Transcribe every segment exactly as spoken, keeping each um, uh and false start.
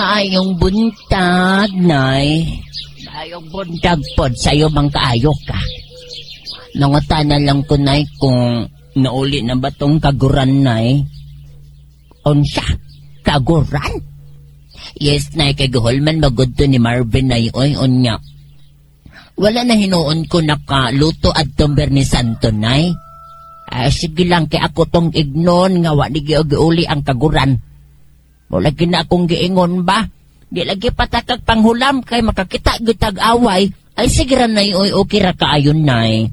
Maayong buntag, Nay. Maayong buntag pod sa'yo bang kaayo ka. Nangutana lang ko, Nay, kung nauli na ba tong kaguran, Nay? Unsa? Kaguran? Yes, Nay, kay guhol man magud to ni Marvin, Nay. Oy, unya. Wala na hinuon ko nakaluto adtong Biyernes Santo, Nay. Ah, sige lang kay ako tong ignon nga wa ni giuli ang kaguran. Wala na akong giingon ba? Di lagi patakag panghulam kay makakita gyud tag away. Ay sige ra nay oy okay ra kaayon nay.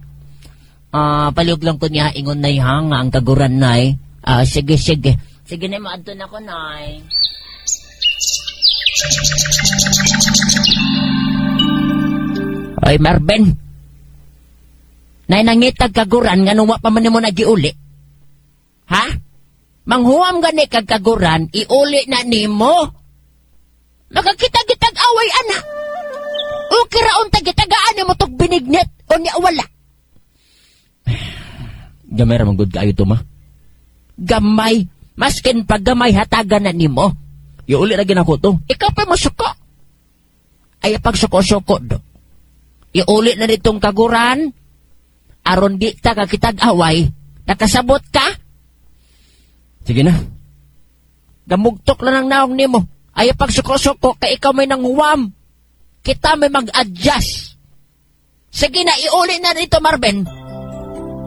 Ah, palihog lang ko niya ingon nay ha nga ang kaguran nay. Ah, sige sige. Sige na maadto na ko nay. Ay Marvin. Nay nangitag kaguran nga wa pa man nimo nagiuli. Ha? Manghuam gani kag kaguran, iuli na nimo. Makakita gitag away ana. Okay ra unta gitagaan nimo tog binignit o niya wala. Gamay ra man gud kaayo to ma. Gamay, maskin pag gamay hatagan na nimo. Iuli ra ginako to. Ikaw pa mosuko. Ay pag suko-suko do. Iuli na nitong kaguran. Aron di ta kakitag away. Nakasabot ka? Sige na. Gamugtok lang ang naong nimo. Ay pag suko-suko kay ikaw may nanghuwam. Kita may mag-adjust. Sige na, iuli na rito, Marvin.